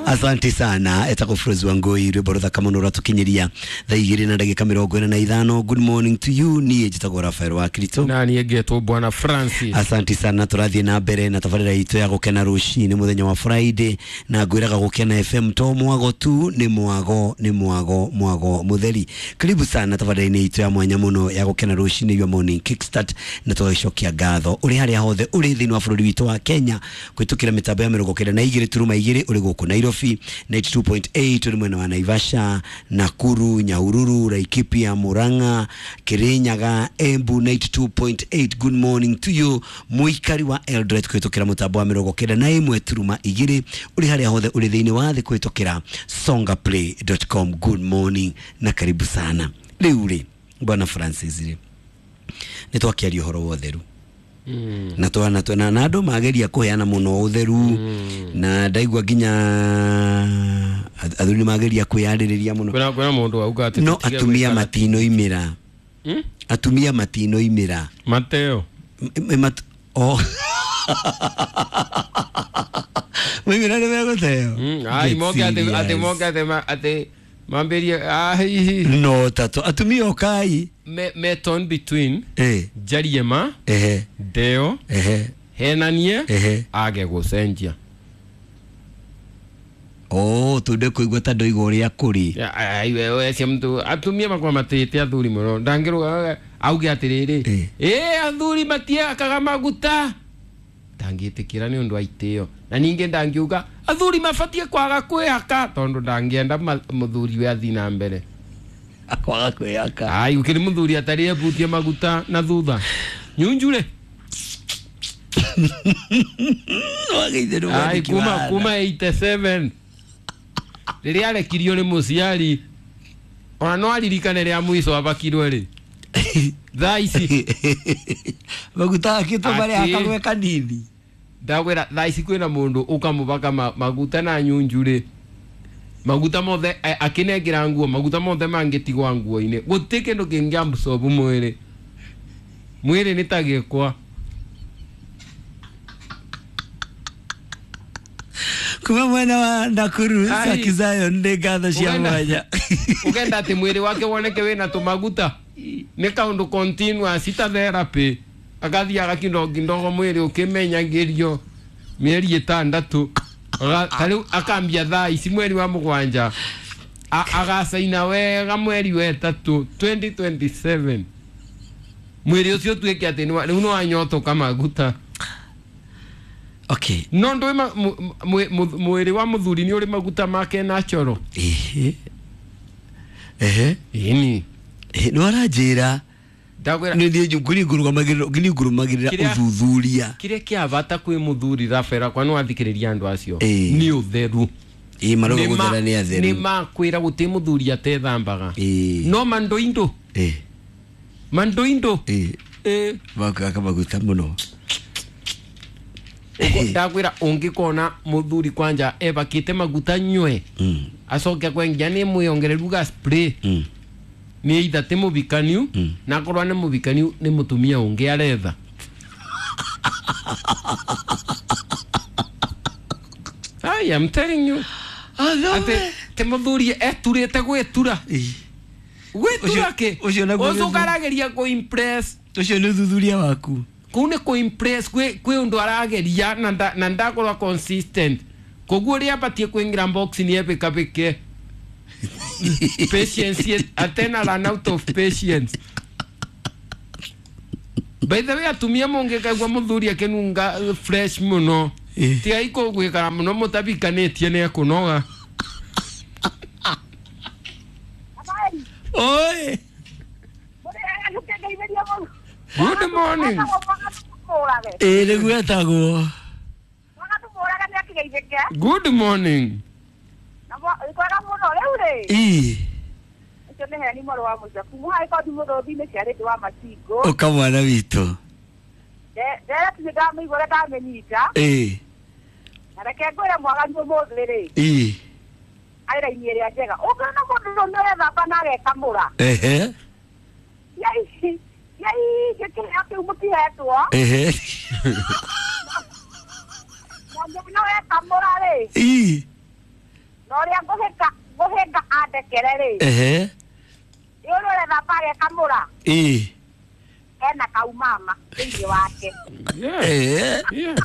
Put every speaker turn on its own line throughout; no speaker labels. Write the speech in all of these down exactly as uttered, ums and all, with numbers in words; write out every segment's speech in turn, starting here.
Asante sana etagwo Frozi wa Ngoi rwimbo ruthaka muno rwatukinyiria thaa igĩrĩ na ndagĩka mĩrongo ĩna na ithano. Good morning to you. Niĩ njĩtagwo Rafael wa Kristo
na niĩ ngetwo Bwana Francis.
Asante sana, tũrathiĩ na mbere na tabarĩra itũ ya gũkena rũcinĩ mũthenya wa Friday, na ngwĩraga Gũkena F M to mwago tu, nĩ mwago nĩ mwago mwago mũtheri. Karibu sana tabarĩra-inĩ itũ ya mwanya mũno ya gũkena rũcinĩ, your morning kickstart, na tũgagĩcokia ngatho ũrĩ harĩa hothe ũrĩ thĩinĩ wa bũrũri witũ wa Kenya kũhĩtũkĩra mĩtambo ya mĩrongo kenda na igĩrĩ turuma igĩrĩ, ũrĩ gũkũ Nairobi ninety two point eight, ũrĩ mwena wa Naivasha, Nakuru, Nyahururu, Laikipia, Murang'a, Kirinyaga, Embu ninety two point eight. Good morning to you mũikari wa Eldoret kũhĩtũkĩra mũtambo wa mĩrongo kenda na ĩmwe turuma igĩrĩ, ũrĩ harĩa hothe ũrĩ thĩinĩ wa thĩ kũhĩtũkĩra songaplay dot com. Good morning na karibu sana. Rĩu rĩ Bwana Francis rĩ, nĩ twakĩaria ũhoro wa ũtheru
Mm.
na twana twana na andũ mageria kũheana mũno ũtheru
mm.
na ndaigua nginya athuri mageria kwĩyarĩrĩria mũno.
Kwĩna kwĩna mũndũ auga atĩ
no
tũtige
atumia
gwĩkara-
matinoimĩra
Mm?
atumia matinoimĩra
Mateo
M- m- mat- oh. Maimĩra nĩ megũteo.
Mm, ai
Get
moke atĩ atĩ
serious.
moke atĩ ma- atĩ mambĩrie ah hihi
no tatu atumia okai
me me torn between
eh
njarie ma
ehe
ndeo
ehe
henanie
ehe
age gũcenjia.
oh tunde kuigua ta ndoiga ũrĩa kũrĩ.
Ya, ai wewe cia mtu atumia makwa matĩte athuri mũno ndangĩrũga auge atĩrĩrĩ
Eh.
ĩ athuri matiakaga maguta ndangĩtĩkĩra nĩ ũndũ wa itĩo, na ningĩ ndangiuga athuri mabatiĩ kwaga kwĩhaka tondũ ndangĩenda ma- mũthuri we athiĩ na mbere
kwaga kwĩhaka.
Ai gũkĩrĩ mũthuri atarĩ ebutie maguta na thutha nyunjure.
Wageithio nĩ
Ai
mwandĩki
kuma
wa
kuma eighty seven rĩrĩa arekirio nĩ mũciari ona no aririkane rĩa mũico abakirwe rĩ thaa ici
maguta akĩtwo marĩa
Atĩ-
hakagwe kanini
ndakwĩra thaa ici kwĩna mũndũ ũkamũbaka ma, maguta na nyunjurĩ maguta mothe a- akĩnengera nguo maguta mothe mangĩtigwa nguo-inĩ gũtirĩ kĩndũ kĩngĩ absorb mwĩrĩ mwĩrĩ nĩ ta gĩkwa
kuma mwena wa Nakuru
Ai.
Saki Zion nĩ ngatho cia
Ũgenda-
mwanya
ũkenda atĩ mwĩrĩ wake woneke wĩna tũmaguta nĩ kaũndũ continuous ta therapy agathiaga kindogo mwĩrĩ ũkĩmenyagĩrio mĩeri ĩtandatũ Aga- ta rĩu akambia thaa ici mweri wa mũgwanja A- agacaina wega mweri wa ĩtatũ twenty twenty seven mwĩrĩ ũcio ũtuĩke atĩ nĩ wa- rĩu nĩ wanyotoka maguta.
Okay
no ndũĩ ma- mu- mu- mu- mwĩrĩ wa mũthuri nĩ ũrĩ maguta make natural.
ehe ehe
Ĩni
nĩ waranjĩra
ndakwĩra
nĩ niĩ ngũrũgamagĩrĩra ngũrũmagĩrĩra
Kĩrĩa-
ũthuthuria
kĩrĩa kĩa bata kwĩ mũthuri Rafaela kwa nĩwathikĩrĩria andũ acio
Ĩĩ.
nĩ ũtheru.
Ĩĩ marauga
Nĩ ma-
gũthera nĩ
nĩ
atheru
makwĩra gũtĩ mũthuri atethambaga
Ĩĩ.
no mandoindo
Ĩĩ.
mandoindo
Ĩĩ.
Ĩĩ.
Makwĩhaka maguta mũno.
Ndakwĩra ũngĩkona mũthuri kwanja ebakĩte maguta nywe
Mm.
acoke kwengia nĩ mwĩongereru ga spray
Mm.
nĩ either ti mũbikaniu
Mm.
na akorwo nĩ mũbikaniu nĩ mũtumia ũngĩ aretha. I am telling you atĩ ti mũthuri eturĩte gwĩtura
Ĩĩ.
gwĩtura
Ũcio-
kĩ
ũcio naguo nĩ
ũcio ũkarageria kũ impress
ũcio nĩ ũthuthuria waku
kũu nĩ kũ impress kwĩ kwĩ ũndũ arageria na nda- na ndakorwo consistent koguo ũrĩa abatiĩ kũingĩra box nĩ ebĩkabĩke patience atena run out of patience. By the way atumia mũngĩkaigua mũthuri akĩnunga uh, fresh mũno
Ĩĩ.
tigai kũgwĩkara mũno mũtabikanĩtie nĩ ekũnoga.
Habari.
Oi
Good morning.
Ĩĩ nĩguo etagwo
Good morning.
Ĩĩ ũka mwana witũ Ĩĩ
Reke ngwĩre mwaganu ũmũthĩ rĩ
Ĩĩ
arĩ raini ĩrĩa njega ũngĩona mũndũ ũrĩa ũrethamba na agekamũra
ehe
cia ici cia ingĩ kĩheo kĩu mũtihetwo
ehe
na ũngĩona wekamũra rĩ
Ĩĩ
Na ũrĩa ngũhĩka ngũhĩnga andekere rĩ.
Ehe.
Nĩ ũrĩa ũrethamba agekamũra.
Ĩĩ.
Ena kaumama thĩinĩ wake.
Yes.
Eh.
Yes.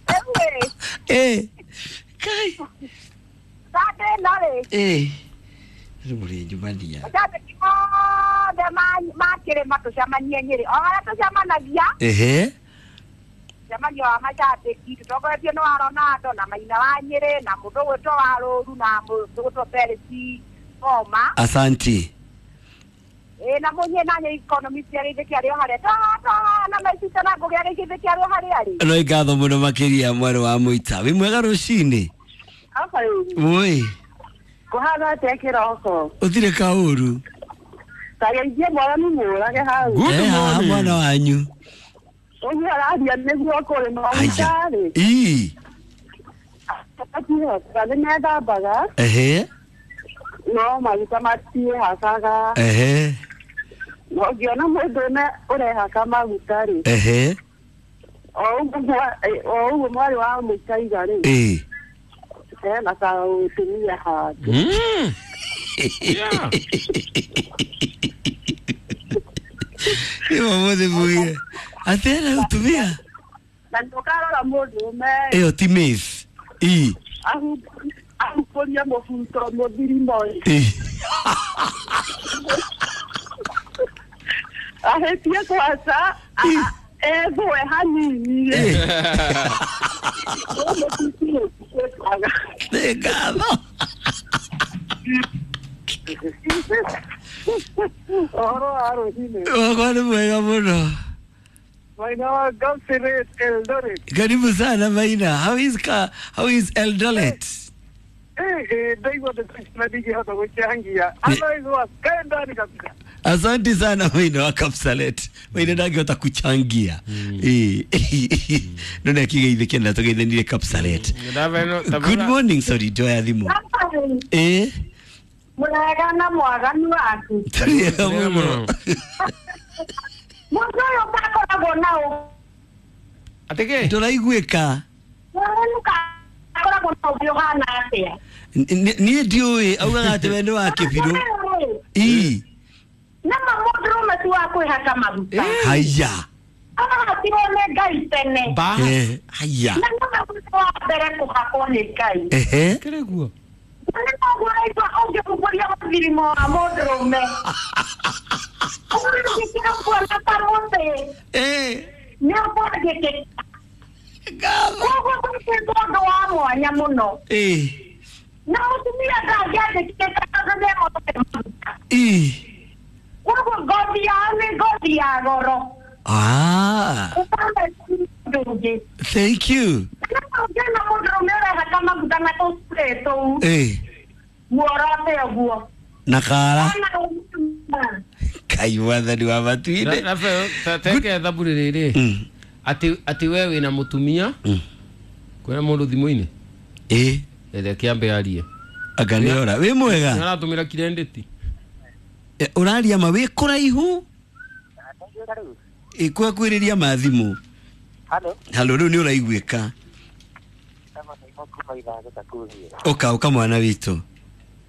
Rĩu rĩ,
Eh. Kai.
Sunday ĩno rĩ,
Eh. Rĩu mũrĩ njumania.
macambĩki othe ma- ma kĩrĩma tũcemanie Nyĩrĩ. O harĩa tũcemanagia,
Ehe.
mũcemanio wa macambĩki tũtongoretio nĩ wa Ronaldo na Maina wa Nyĩrĩ na mũndũ ũgwĩtwo wa Rũru na mũndũ ũgwĩtwo Felix Ngoma.
Asanti.
Ĩ na mũnyie na nyĩ economist agĩithĩkia kĩarĩ o harĩa toha toha na maicita na ngũgĩ agĩithĩkia kĩarĩ o harĩa arĩ.
No ngatho mũno makĩria mwarĩ wa mũita. Wĩ mwega rũcinĩ? Woi.
Kũhana atĩa kĩroko?
Ũtirĩ kaũru.
Tageithie mwathani mũrage hau.
Good
Eh, haha
morning.
mwana wanyu.
Ũguo araria nĩguo kũrĩ
Aya.
maguta-rĩ.
Ii.
Nĩ methambaga
Ehe.
no maguta matiĩhakaga.
Ehe.
Na ũngĩona mũndũ ũme ũrehaka maguta-rĩ,
Ehe.
o ũguo mwa- o ũguo mwarĩ wa mũitaiga rĩ,
Ĩĩ.
hena kaũtumia handũ.
Mm. Yeah.
Ĩyo mũthĩ mũgire. Atĩ ena ũtumia?
Na ndũkarora mũndũ ũme
Ĩyo ti miss. Ii.
ahumbũrie mũbuto mũthirimo ĩ.
Ĩĩ.
Ahĩtie kwaca a- ethũe hanini rĩ. Ũyũ mũtutu
Nĩ ngatho.
Ũhoro wa rũcinĩ.
Wakwa nĩ mwega mũno.
Maina wa Kapseret Eldoret.
Karibu sana Maina. How is ka, how is Eldoret?
Eh, eh, ndaigua ndeto ici na ndingĩhota gũchangia. Otherwise kae ndani kabisa.
Asante sana Maina wa Kapsalet. Maina ndangĩhota kuchangia. Eh. No na kigeithĩke na tũgeithanire Kapsalet. Good morning, sorry, ndoya thimũ. Eh.
Mũrega na mwaganu waku.
Tũrĩega mũno.
Mũndũ ũyũ ndakoragwo na ũ-
Atĩkĩ?
Ndũraiguĩka.
mwaganu akoragwo na ũthiũ ũhana atĩa?
N- Niĩ ndiũĩ augaga atĩ we nĩ wa kĩbirũ. Ii.
Nama mũndũrũme ti wa kwĩhaka maguta.
Haya.
Arahatirwo nĩ Ngai tene.
Ba.
Eh, haya.
Na nĩwe mũndũ wa mbere kũhakwo nĩ Ngai.
Ehe.
Kĩrĩ guo.
Na nĩ koguo ũraigua ũngĩhumbũria mũthirimo wa mũndũrũme. Ũngĩkĩra kuona ta mũtĩ,
Eh.
nĩ ũkwangĩkĩka.
Ngatho.
Koguo gwĩkĩtwo ũndũ wa mwanya mũno.
Eh.
Na mũtumia ndangĩandĩkĩka tondũ nĩehotete maguta.
Ii.
Koguo ngothi yao nĩ ngothi ya goro.
Ah.
Ũkame ũndũ ũngĩ.
Thank you.
Na ũngĩona mũndũrũme ũrehaka maguta na tũspray tũu,
Eh.
muorote ũguo.
Na kara.
Ona ũmwe.
Kai wathani wa matu-inĩ.
Rafael, teke ethabu rĩrĩ.
Mm.
Atĩ atĩ we wĩna mũtumia
Mm.
kwĩna mũndũ thimũ-inĩ
Eh.
reke ambe arie.
Anga nĩ ora. Wĩ mwega.
Aratũmĩra kirendeti.
Eh, Ũraria ma wĩ kũraihu? Ĩ kwakwĩrĩria ma thimũ.
Halo,
Halo rĩu nĩ ũraiguĩka.
kama nĩ kuma ithago takurie.
Ũka ũka mwana witũ.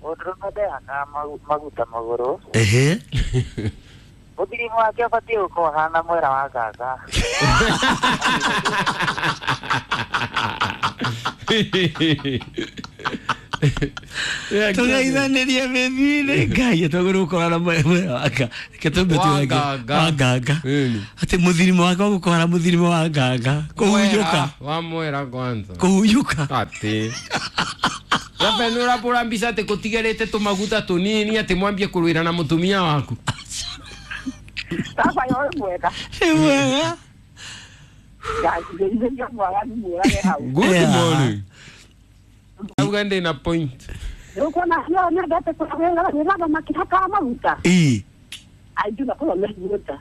Mũndũrũme ndehakaga maguta magũrũ.
Ehe.
Mũthirimo wake ũbatiĩ gũkorwo hana mwera wa gaga.
Tũgeithanĩrie mĩthiĩ-inĩ. Ngai twagĩrĩirwo gũkorwo na mwera wa nga. Reke tũmbe
Wa
tuge
nganga.
wa nganga.
Ĩni.
Atĩ mũthirimo wake wa gũkorwo na mũthirimo wa nganga. Kũhunyũka.
Mwera, wa mwera kwanza.
Kũhunyũka.
Atĩ. Rafael nĩ ũrabũra mbica atĩ kũtigarĩte tũmaguta tũnini atĩ mwambie kũrũĩra na mũtumia waku.
Baba yo mwega.
Nĩ mwega.
Ngeithĩria mwaganu mũrage hau.
Good
Yeah.
morning. Auga ndĩ na point.
Ũkuona yo nyendete kũrora makĩhakaga maguta.
Ii.
Aingĩ makoragwo me igũta.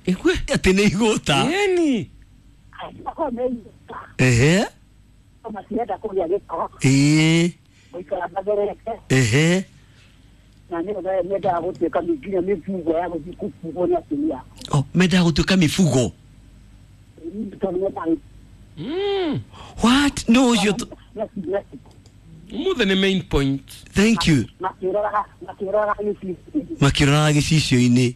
Ĩkwe.
Atĩ nĩ igũta.
Ĩni.
Aingĩ makoragwo me igũta.
Ehe.
Matienda kũgĩa gĩko.
Ĩĩ.
Gũikara matherete.
Ehe.
Na nĩ ũndũ mendaga gũtuĩka nginya mĩbugo ya gũthiĩ kũbugwo nĩ atumia.
Oh, mendaga gũtuĩka mifugo.
Tondũ mendaga
Mm.
What? No ũcio tu-
Umuthi nĩ main point.
Thank you.
Makĩroraga makĩroraga gĩcicio.
Makĩroraga gĩcicio-inĩ.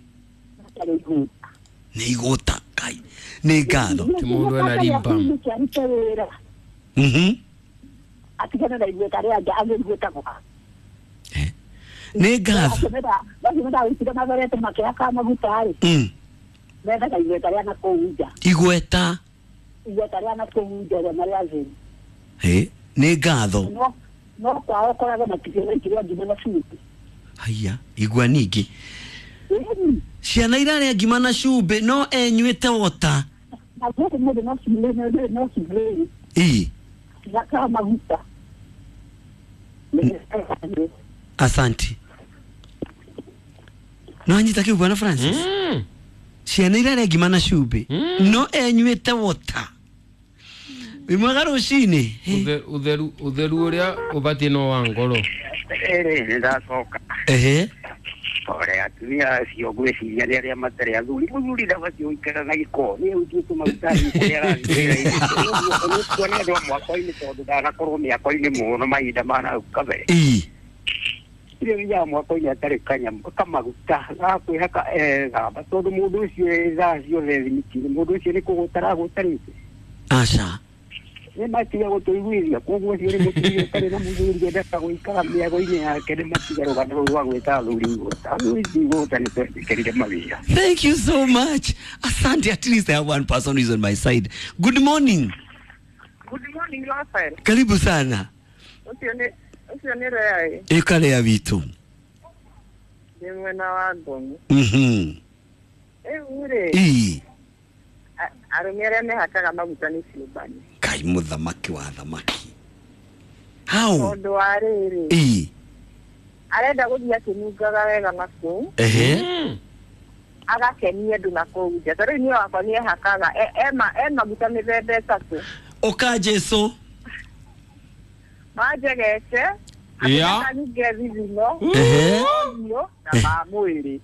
Matarĩ igũta.
Nĩ igũta kai. Nĩ ngatho.
Ti mũndũ ena rimba.
Kĩarute wĩra.
Mhm.
Atigane na igweta rĩa nja agĩ igweta gwa.
Eh. Nĩ ngatho.
Macio menda mathorete makĩhaka maguta rĩ.
Mm.
Mendaga igweta rĩa na kũu nja.
Igweta.
Igweta rĩa na kũu nja rĩa marĩa thĩ.
Eh. Nĩ ngatho.
No no kwao koragwo matikĩrĩa ngima na cumbĩ.
Haya, igua ningĩ. Ciana irarĩa ngima na cumbĩ no enyuĩte wota.
Na gũkũ mũndũ no cumbĩ no cumbĩ.
Ii.
Gaka maguta.
Asante. No anyita kiu bwana Francis.
Mm.
Ciana irarĩa ngima na cumbĩ
Mm.
no enyuĩte wota. Wĩ mwega rũcinĩ.
Uthe- Utheru utheru ũrĩa ũbatiĩ no wa ngoro.
Ĩrĩ nĩ ndacoka.
Ehe.
Ore atumia acio ngwĩciria nĩ arĩa matarĩ athuri. Mũthuri ndabatiĩ gũikara na gĩko. Nĩ ũtuĩte maguta kũrĩa arathiĩ wĩra-inĩ. Ũguo nĩ andũ a mwako-inĩ tondũ ndanakorwo mĩako-inĩ mũno mahinda ma nahau kabere.
Ii.
Irĩ thiaga mwako-inĩ atarĩ kanyamũ kamaguta gakwĩhaka ethamba tondũ mũndũ ũcio ĩ thaa ciothe thimiti-inĩ mũndũ ũcio nĩ kũgũta aragũtarĩte.
Aca.
Nĩ matiga gũtũiguithia koguo ũcio nĩ mũtumia ũtarĩ na mũthuri endaga gũikara mĩago-inĩ yake nĩ matiga rũgano rũu rwa gwĩta athuri igũta. Athuri ti igũta nĩ twetĩkĩrire mawĩra.
Thank you so much. Asante. At least I have one person who is on my side. Good morning.
Good morning, Rafael.
Karibu sana.
Ũcio nĩ ũcio nĩ Rea ĩ
Ĩkarĩa witũ.
ndĩ mwena wa Ngong.
Mhm.
Rĩu rĩ
Ii.
a- arũme arĩa mehakaga maguta nĩ ciũmbani.
Kai mũthamaki wa thamaki. How?
Tondũ wa rĩrĩ
Ii.
arenda gũthiĩ akĩnungaga wega na kũu
Ehe.
Mm.
agakenia andũ na kũu nja. Ta rĩu niĩ wakwa nĩehakaga e- e ma- e maguta mĩthemba ĩtatũ.
Ũka Jesu.
Manjegete
Ya.
akanunge thithino
Ehe.
ũthiũ na ma mwĩrĩ.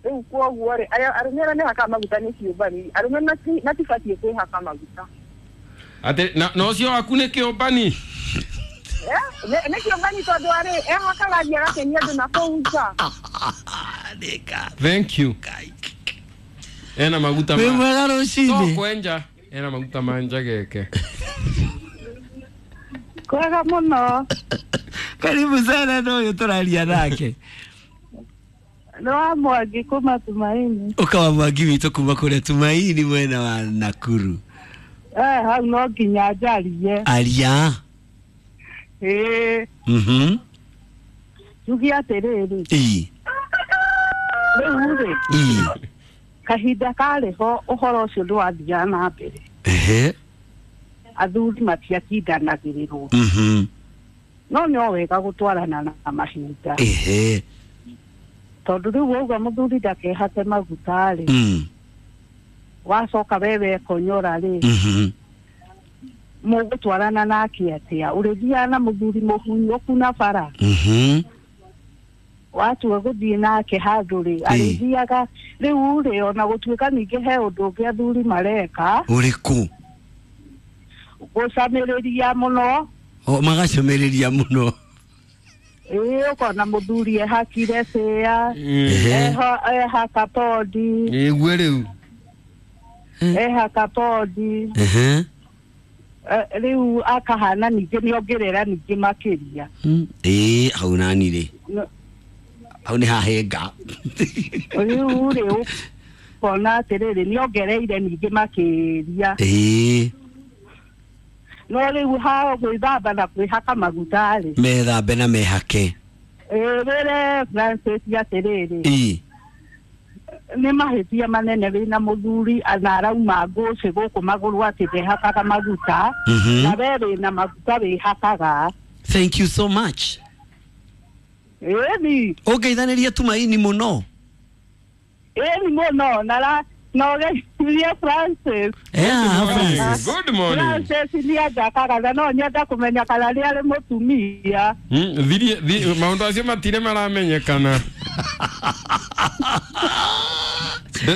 Rĩu kwoguo rĩ arĩa arũme arĩa mehakaga maguta nĩ ciũmbani. Arũme mati- matibatiĩ kwĩhaka maguta.
Atĩ na na ũcio waku nĩ kĩũmbani.
Eh, nĩ nĩ kĩũngani tondũ arĩ ehakaga thiĩ agakenia andũ na kũu nja.
Nĩ ngatho.
Thank you.
Kai.
Ena maguta
Wĩ
ma.
mwega
To
rũcinĩ.
kwenja. Ena maguta ma njageke.
Kwega mũno.
Karibu sana no ũyũ tũraria nake.
Nĩ wa Mwangi kuma Tumaini.
Ũka wa Mwangi witũ kuma kũrĩa Tumaini mwena wa Nakuru.
Eh, hau no nginya njarie.
Aria.
Ĩĩ,
Mhm.
njuge atĩrĩrĩ,
Ii.
rĩu rĩ,
Ii.
kahinda karĩ ho ũhoro ũcio ndwathiaga na mbere.
Ehe.
Athuri matiatindanagĩrĩrwo.
Mhm.
No no wega gũtwarana na mahinda.
Ehe.
Tondũ rĩu wauga mũthuri ndakehake maguta rĩ,
Mm.
wacoka we wekonyora rĩ,
Mhm.
mũgũtwarana nake atĩa? Ũrĩthiaga na mũthuri mũhunyũku na bara.
Mhm.
Watua gũthiĩ nake handũ rĩ, arĩthiaga rĩu rĩ, ona gũtuĩka ningĩ he ũndũ ũngĩ athuri mareka,
Ũrĩkũ?
gũcamĩrĩria mũno.
O magacũmĩrĩria mũno.
Ĩĩ, ũkona mũthuri ehakire cĩa,
Ehe.
eho- ehaka pondi,
Ĩgue rĩu.
ehaka pondi.
Ehe.
Eh, rĩu akahana ningĩ nĩongerera ningĩ makĩria.
Mm. Ĩĩ, hau nani rĩ.
No-
Hau nĩ hahenga.
Rĩu rĩ ũkona atĩrĩrĩ nĩongereire ningĩ makĩria.
Ĩĩ.
No rĩu ha gwĩthamba na kwĩhaka maguta rĩ,
Methambe na mehake.
ĩĩ, wĩre Francis atĩrĩrĩ,
Ĩĩ.
nĩ mahĩtia manene wĩna mũthuri na arauma ngũcĩ gũkũ magũrũ atĩ ndehakaga maguta,
Mhm.
na we wĩna maguta wĩhakaga.
Thank you so much.
Ĩni,
Ũngeithanĩria Tumaini mũno.
ĩni mũno na ra na ũgeithie Francis.
Yeah, Francis.
Good morning.
Francis nĩanjakaga na no nyenda kũmenya kana nĩ arĩ mũtumia.
Mm, thirie thi- maũndũ acio matirĩ maramenyekana.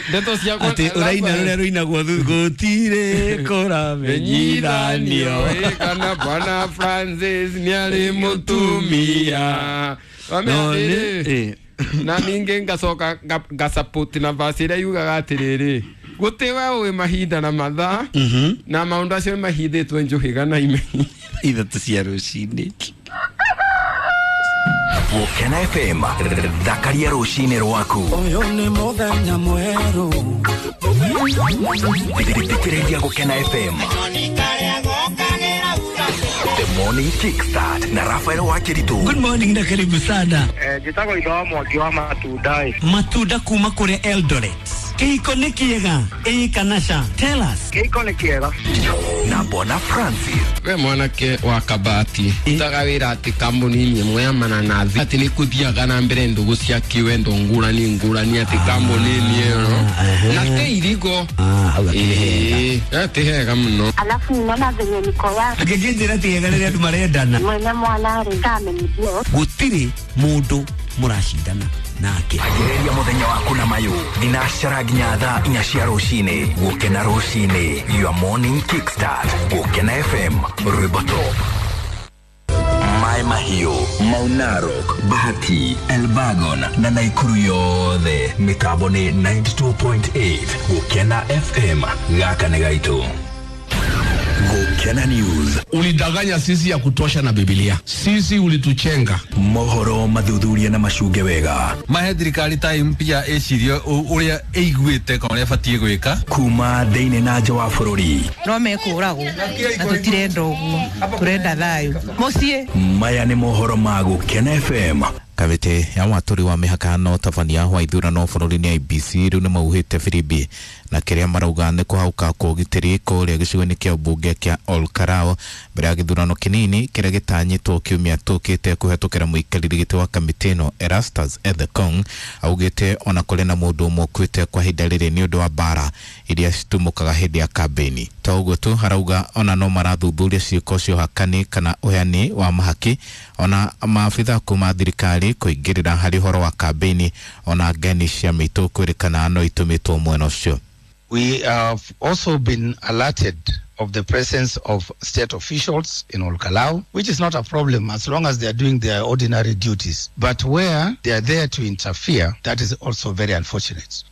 Ndeto ciakwa
Atĩ ũraina rũrĩa rũinagwo gũtirĩ kũramenyithanio.
Kana Bwana Francis nĩarĩ mũtumia.
No, nĩ-
Na ningĩ ngacoka ngasupport na verse ĩrĩa yugaga atĩrĩrĩ, gũtĩ we ũĩ mahinda na mathaa na maũndũ acio nĩmahithĩtwo njũhĩga na ime.
Ithatũ cia rũcinĩ.
Gũkena F M, thakaria rũcinĩ rwaku.
Ũyũ nĩ mũthenya mwerũ.
Thikĩrĩria Gũkena F M. The Morning Kickstart na Rafael Wakiritu.
Good morning na karibu sana.
Eh, njĩtagwo Itho wa Mwangi wa matunda.
Matunda kuma kũrĩa Eldoret. Kĩhiko nĩ kĩega? Ĩĩ kana ca? Tell us.
Kĩhiko nĩ kĩega.
Na Bwana Francis.
We mwanake wa Kabati utaga wĩra atĩ kambuni-inĩ ĩmwe ya mananathi atĩ nĩ kũthiaga na mbere ndũgũ cia kĩwendo ngũrani ngũrani atĩ kambuni-inĩ ĩyo na tĩ irigo. Ĩĩ, ti hega mũno.
Alafu ninaona venye niko ya
Angĩkĩnjĩra ti hega rĩrĩa andũ marendana.
Mwene mwana rĩ ndamenyithio.
Gũtirĩ mũndũ mũracindana nake.
Agĩrĩria mũthenya waku na mayũ thinacara nginya thaa inya cia rũcinĩ. Gũkena rũcinĩ, your morning kickstart. Gũkena F M, rwĩmbo top. Maĩ Mahiũ, Mau Narok, Bahati, Elbagon na Naikuru yothe. Mĩtambo nĩ ninety-two point eight. Gũkena F M, gaka nĩ gaitũ. Gũkena News.
Ulidanganya sisi ya kutosha na Biblia. Sisi ulituchenga.
Mohoro mathuthuria na macunge wega.
Mahe thirikari time pia ĩcirie ũrĩa ĩiguĩte kana ũrĩa ĩbatiĩ gwĩka.
Kuma thĩinĩ na nja wa bũrũri.
No mekũragwo na tũtirenda ũguo, tũrenda thayũ. Mũciĩ.
Maya nĩ mohoro ma Gũkena F M.
Kamĩtĩ ya watũri wa mĩhaka na ũtabania wa ithurano bũrũri-inĩ I B C rĩu nĩmauhĩte firimbi na kĩrĩa marauga nĩ kũhauka kwa ũgitĩri kũrĩa gĩcigo-inĩ kĩa ũmbunge kĩa Olkarao mbere ya gĩthurano kĩnini kĩrĩa gĩtanyĩtwo kiumia tũkĩte kũhetũkĩra mũikarĩri gĩtĩ wa kamĩtĩ ĩno Erastus Ethekong augĩte ona kũrĩ na mũndũ ũmwe ũkuĩte kwa ihinda rĩrĩ nĩ ũndũ wa mbara iria citumũkaga hĩndĩ ya kambĩini. To ũguo tu harauga ona no marathuthuria ciĩko cia ũhakani kana ũheani wa mahaki ona maabitha kuma thirikari kũingĩrĩra harĩ ũhoro wa kambĩini ona ngeni cia mĩitũ kwĩrĩkana no itũmĩtwo mwena ũcio.
We have also been alerted of the presence of state officials in Olkalau, which is not a problem as long as they are doing their ordinary duties. But where they are there to interfere, that is also very unfortunate.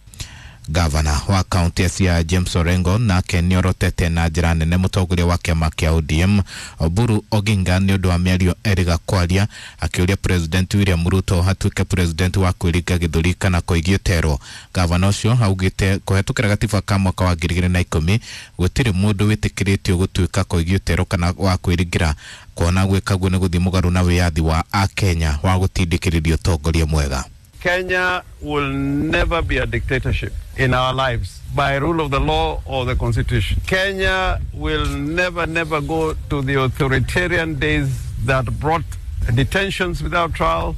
Gavana wa kaunti ya Siaya James Orengo nake nĩorotete na njĩra nene mũtongoria wa kĩama kĩa O D M Oburu Oginga nĩ ũndũ wa mĩario erĩga kwaria akĩũria President William Ruto atuĩke president wa kwĩringa gĩthũri kana kũigio terwo. Gavana ũcio augĩte kũhetũkĩra gatiba ka mwaka wa ngiri igĩrĩ na ikũmi gũtirĩ mũndũ wĩtĩkĩrĩtio gũtuĩka kũigio terwo kana wa kwĩringĩra kuona gwĩka guo nĩ gũthiĩ mũgarũ na wĩyathi wa Akenya wa gũtindĩkĩrĩria ũtongoria mwega.
Kenya will never be a dictatorship in our lives by rule of the law or the constitution. Kenya will never, never go to the authoritarian days that brought detentions without trial.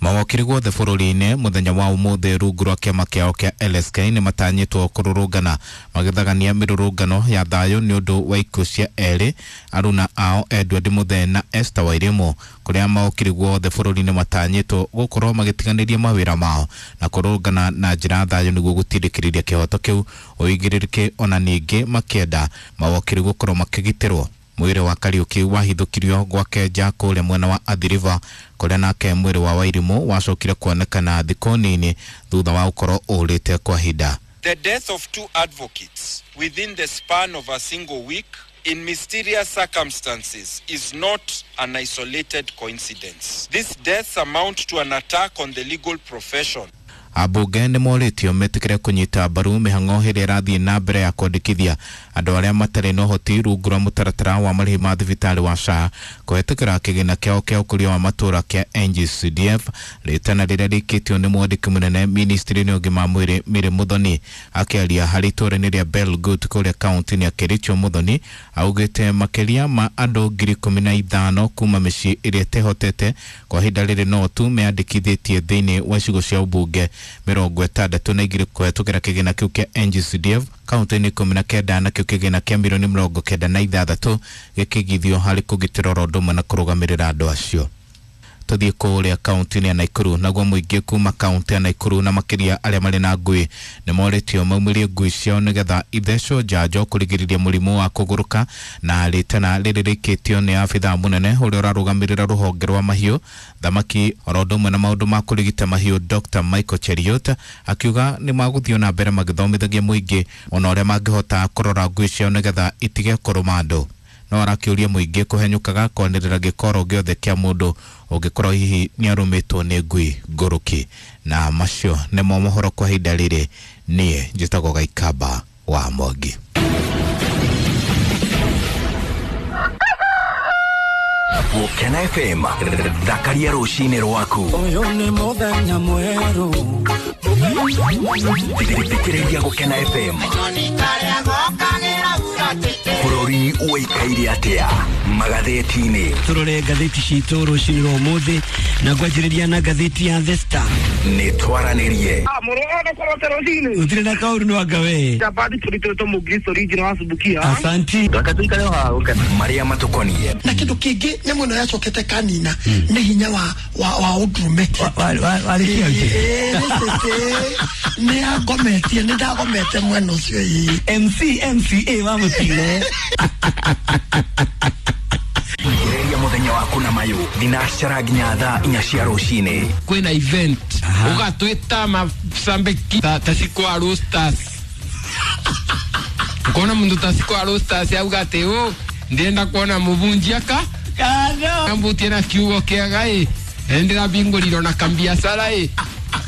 Mawakiri guothe bũrũri-inĩ mũthenya wa ũmũthĩ rungu rwa kĩama kĩao kĩa L S K nĩ matanyĩtwo kũrũrũngana magĩthagania mĩrũrũngano ya thayũ nĩ ũndũ wa ikuũ cia erĩ aruna ao Edward Muthee na Esther Wairimu kũrĩa mawakiri guothe bũrũri-inĩ matanyĩtwo gũkorwo magĩtiganĩria mawĩra mao na kũrũrũngana na njĩra ya thayũ nĩguo gũtindĩkĩrĩria kĩhoto kĩu ũigĩrĩrĩke ona ningĩ makĩenda mawakiri gũkorwo makĩgitĩrwo. Mwĩrĩ wa Kariuki wahithũkirio gwake nja kũrĩa mwena wa Athi River kũrĩa nake mwĩrĩ wa Wairimu wacokire kuonekana thikũ nini thutha wa gũkorwo ũrĩte kwa ihinda.
The death of two advocates within the span of a single week in mysterious circumstances is not an isolated coincidence. These deaths amount to an attack on the legal profession.
Ambunge nĩ morĩtio metĩkĩre kũnyita mbaru mĩhang'o ĩrĩa ĩrathiĩ na mbere ya kwandĩkithia andũ arĩa matarĩ na ũhoti rungu rwa mũtaratara wa marĩhi ma thibitarĩ wa S H A kũhetũkĩra kĩgĩna kĩao kĩa ũkũria wa matũũra kĩa N G C D F rĩtana rĩrĩa rĩikĩtio nĩ mwandĩki mũnene ministry-inĩ ũgima wa mwĩrĩ Mary Muthoni. Akĩaria harĩ itũũra-inĩ rĩa Belgut kũrĩa kaunti-inĩ ya Kericho, Muthoni augĩte makĩria ma andũ ngiri ikũmi na ithano kuma mĩciĩ ĩrĩa ĩtehotete kwa ihinda rĩrĩ no tu meyandĩkithĩtie thĩinĩ wa icigo cia ũmbunge mĩrongo ĩtandatũ na igĩrĩ kũhetũkĩra kĩgĩna kĩu kĩa N G C D F kaunti-inĩ ikũmi na kenda nakĩo kĩgĩna kĩa mirioni mĩrongo kenda na ithathatũ gĩkĩigithio harĩ kũgitĩra oro ũndũ ũmwe na kũrũgamĩrĩra andũ acio. Tuthiĩ kũrĩa kaunti-inĩ ya Nakuru. Naguo mũingĩ kuma kaunti ya Nakuru na makĩria arĩa marĩ na ngui nĩ morĩtio maumĩrie ngui ciao nĩgetha ithecwo njanjo kũrigĩrĩria mũrimũ wa kũgũrũka. Na rĩtana rĩrĩ rĩkĩtio nĩ abithaa mũnene ũrĩa ũrarũgamĩrĩra rũhonge rwa mahiũ, thamaki oro ũndũ ũmwe na maũndũ ma kũrigita mahiũ, Doctor Michael Cheruiyot, akiuga nĩ magũthiĩ na mbere magĩthomithagia mũingĩ ona ũrĩa mangĩhota kũrora ngui ciao nĩgetha itige kũrũma andũ. No arakĩũria mũingĩ kũhenyũkaga kwanĩrĩra gĩkoro gĩothe kĩa mũndũ ũngĩkorwo hihi nĩarũmĩtwo nĩ ngui ngũrũki. Na macio nĩmo mohoro kwa ihinda rĩrĩ. Niĩ njĩtagwo Gaikamba wa Mwangi.
Gũkena F M, thakaria rũcinĩ rwaku.
Ũyũ nĩ mũthenya mwerũ.
Thikĩrĩria Gũkena F M. Bũrũri ũikaire atĩa magathĩti-inĩ?
Tũrore ngathĩti citũ rũcinĩ rwa ũmũthĩ na ngwanjĩrĩria na ngathĩti ya The Star.
Nĩ twaranĩrie.
Ũtirĩ na kaũru nĩ wanga we. Asanti.
Marĩa matũkoniĩ.
Na kĩndũ kĩngĩ nyamũ ĩno yacokete kanina nĩ hinya wa wa wa ũndũrũme. Nĩ agometie, nĩ ndagomete mwena ũcio ĩ.
M C M C A wa mũtino.
Thikĩrĩria mũthenya waku na mayũ thinacara nginya thaa inya cia rũcinĩ.
Kwĩna event ũgatwĩta macambĩki ta Cikwa Roasters. Ukona mundu ta Cikwa Roasters auga atĩ ũ ndĩrenda kuona mũbunjia ka ambutie na kiugo kĩega ĩ ndĩrabingũrirwo na kambiacara ĩ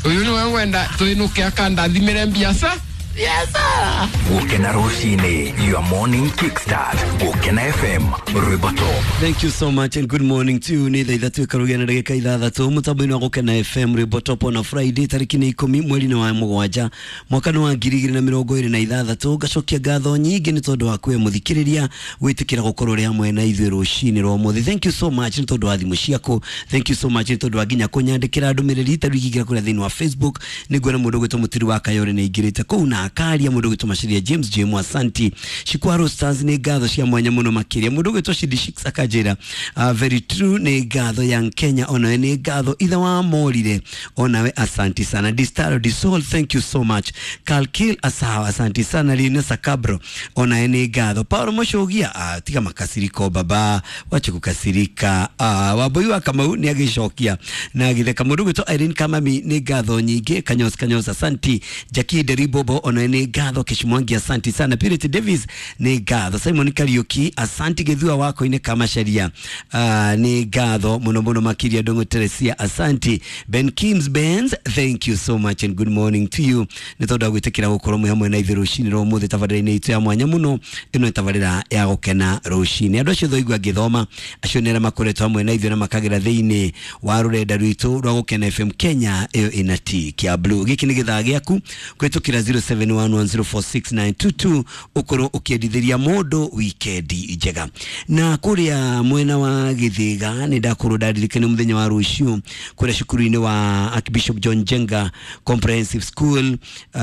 ũyũ nĩwe ngwenda twĩnũke akandathimĩre mbiaca.
Biacara.
Gũkena rũcinĩ, your morning kickstart. Gũkena F M, rwĩmbo top.
Thank you so much and good morning to you. Nĩ thaa ithatũ ĩkarugia na ndagĩka ithathatũ mũtambo-inĩ wa Gũkena F M rwĩmbo top on a Friday tarĩki nĩ ikũmi mweri-inĩ wa mũgwanja mwaka nĩ wa ngiri igĩrĩ na mĩrongo ĩrĩ na ithathatũ. Ngacokia ngatho nyingĩ nĩ tondũ wa kwĩ mũthikĩrĩria gwĩtĩkĩra gũkorwo ũrĩ hamwe na ithuĩ rũcinĩ rwa ũmũthĩ. Thank you so much nĩ tondũ wa thimũ ciaku. Thank you so much nĩ tondũ wa nginya kũnyandĩkĩra ndũmĩrĩri ta rĩu ingĩingĩra kũrĩa thĩinĩ wa Facebook nĩ nguona mũndũ ũgwĩtwo Mũtiri wa Kayore nĩ aingĩrĩte kũu na akaria mũndũ ũgwĩtwo Maciria James James Asanti. Cikwa Roasters nĩ ngatho cia mwanya mũno makĩria. Mũndũ ũgwĩtwo Shidi Shix akanjĩra uh, very true nĩ ngatho. Young Kenya onawe nĩ ngatho. Ithe wa Morire onawe asanti sana. Distaro Disol thank you so much. Kalkil asawa asanti sana. Lina Sakabro onawe nĩ ngatho. Paulo Moshogia uh, tiga makasiriko baba wache kukasirika. Uh, Wambui wa Kamau nĩ agĩcokia na agĩtheka. Mũndũ ũgwĩtwo Irene Kamami nĩ ngatho nyingĩ. Kanyos Kanyos asanti. Jackie Deribobo onawe nĩ ngatho. Kishmwangi asanti sana. Purity Davis nĩ ngatho. Simon Kariuki asanti. Githua wako-inĩ Kamacharia uh, nĩ ngatho mũno mũno makĩria. Ndung'u Teresia asanti. Ben Kims Benz thank you so much and good morning to you nĩ tondũ wa gwĩtĩkĩra gũkorwo mwĩ hamwe na ithuĩ rũcinĩ rwa ũmũthĩ tabarĩra-inĩ itũ ya mwanya mũno. Ĩno nĩ tabarĩra ya Gũkena rũcinĩ. Andũ acio twaigua ngĩthoma acio nĩ arĩa makoretwo hamwe na ithuĩ na makagera thĩinĩ wa rũrenda rwitũ rwa Gũkena F M Kenya ĩyo ĩna T kĩa blue. Gĩkĩ nĩ gĩthaa gĩaku kũhĩtũkĩra zero seven one one zero four six nine two two ũkorwo ũkĩendithĩria mũndũ wikendi njega. Na kũrĩa mwena wa Gĩthĩga nĩ ndakorwo ndaririkana mũthenya wa rũciũ kũrĩa cukuru-inĩ wa Archbishop John Njenga Comprehensive School uh,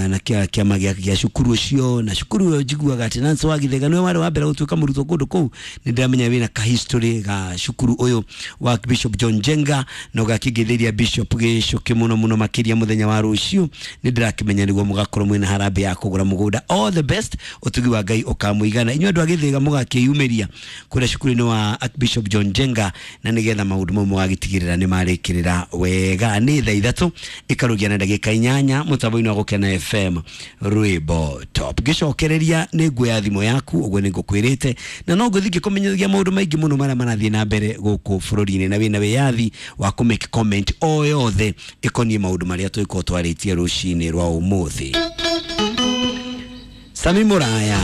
na kĩa kĩama gĩa gĩa cukuru ũcio. Na cukuru ũyũ njiguaga atĩ Nancy wa Gĩthĩga nĩwe warĩ wa mbere gũtuĩka mũrutwo kũndũ kũu. Nĩ ndĩramenya wĩna ka history ga cukuru ũyũ wa Archbishop John Njenga na ũgakĩngĩthĩria Bishop Gĩcũkĩ mũno mũno makĩria mũthenya wa rũciũ. Nĩ ndĩrakĩmenya nĩguo mũgakorwo mwĩna harambee ya kũgũra mũgũnda. All the best, ũtugi wa Ngai ũkamũigana. Inyuĩ andũ a Gĩthĩga mũgakĩyumĩria kũrĩa cukuru-inĩ wa Archbishop John Njenga na nĩgetha maũndũ mau mũgagĩtigĩrĩra nĩ marĩkĩrĩra wega. Nĩ thaa ithatũ ĩkarugia na ndagĩka inyanya mũtambo-inĩ wa Gũkena F M rwĩmbo top. Ngĩcokereria nĩ nguoya thimũ yaku ũguo nĩ ngũkwĩrĩte na no ngũthiĩ ngĩkũmenyithagia maũndũ maingĩ mũno marĩa marathiĩ na mbere gũkũ bũrũri-inĩ na wĩna wĩyathi wa kũ make comment o yothe ĩkoniĩ maũndũ marĩa tũgĩkorwo twarĩtie rũcinĩ rwa ũmũthĩ. Sami Muraya.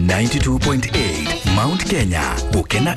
ninety-two point eight Mount Kenya Gũkena